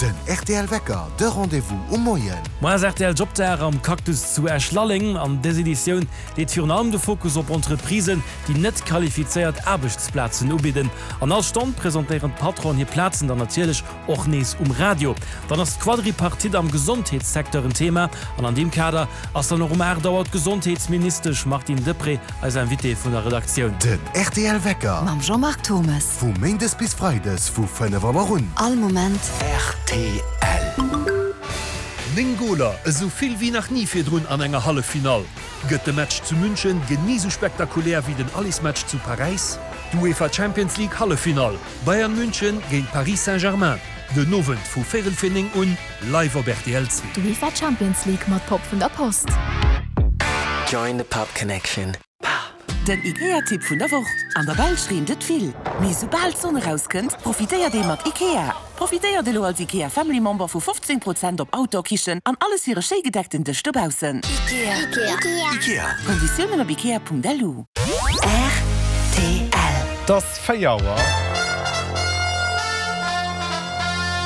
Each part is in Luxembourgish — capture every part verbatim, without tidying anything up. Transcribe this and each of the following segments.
Den rtl Wecker, de Rendez-vous um Moien. Moar ass rtl Jobdag am Cactus zu Esch-Lalleng. An dës Editioun leet virun allem de Fokus op Entreprisen, déi net qualifizéiert Aarbechtsplazen ubidden. An all Stonn presentéieren d'Patronen hir Plazen dann natierlech och nees um Radio. Dann ass d'Quadripartite am Gesondheetssecteur en Thema an an deem Kader ass dann och um aacht Auer d'Gesondheetsministesch Martine Deprez eis Invitée vun der Redaktioun. Den rtl Wecker Mam Jean-Marc Thomes. Vu méindes bis freides vu fënnef Auer un. All Moment. Rtl. Néng Goler, esou vill wéi nach ni virdrun an enger Halleffinall. Gëtt de Match zu München genee sou spektakulär wéi den Allesmatch zu Paräis? D'UEFA Champions League Halleffinall, Bayern München géint Paris Saint-Germain, den Owend vu véierel fir néng un, live op rtl zwee. D'UEFA Champions League mat Pop vun der Post. Join the Pop Connection. Den IKEA-Tipp vun der Woch, An der Belsch reent et vill, mee soubal d'Sonn erauskënnt, profitéiert ee mat IKEA. Profitéiert elo als IKEA Family Member vu fofzéng Prozent op Outdoor-Kichen an alles fir e schéi gedeckten Dësch dobaussen. IKEA. Konditiounen op ikea.lu. Rtl. Et ass véier Auer.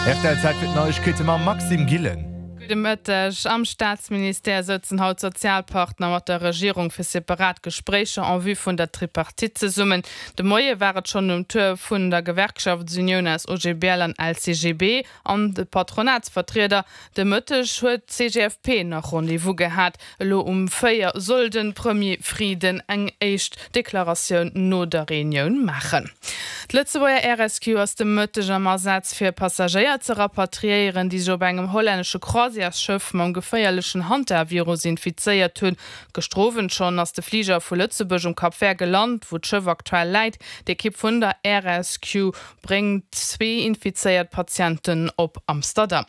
Rtl, Zäit fir d'Neiegkeete mam Maxime Gillen. Gudde Mëtteg. Am Staatsministère sëtzen haut d'Sozialpartner mat der Regierung fir separat Gespréicher en vue vun der Tripartite zesummen. De Moie war et schonn um Tour vun der Gewerkschaftsunioun aus O G B L an L C G B an de Patronatsvertrieder. De Mëtteg huet d'C G F P nach Rendez-vous gehat. Elo um véier soll de Premier Frieden eng éischt Deklaratioun no der Reunioun maachen. D'Lëtzebuerger Air Rescue ass de Mëtteg am Asaz fir Passagéier ze rapatriéieren, déi sech op engem hollännesche Croisièresschëff mam geféierlechen Hantavirus infizéiert hunn. Gëschter Owend schonn ass de Fliger vu Lëtzebuerg um Cap Vert gelant, wou d'Schëff aktuell läit. D'Ekipp vun der Air Rescue bréngt zwee infizéiert Patienten op Amsterdam.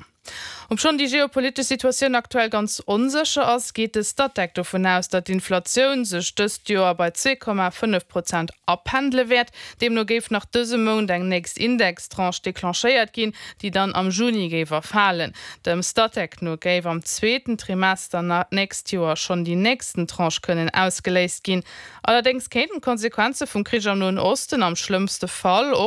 Obschonn déi geopolitesch Situatioun aktuell ganz onsécher ass, geet de Statec dovun aus, datt d'Inflatioun sech dëst Joer bei zwee Komma fënnef Prozent apendele wäert. Deemno géif nach dëse Mount eng nächst Indextranche declenchéiert ginn, déi dann am Juni géif erfalen. Dem Statec no géif am zweeten Trimester d'nächst Joer schonn déi nächsten Tranche kënnen ausgeléist ginn. Allerdéngs kéinten d'Konsequenze vum Krich am Noen Osten am schlëmmste Fall och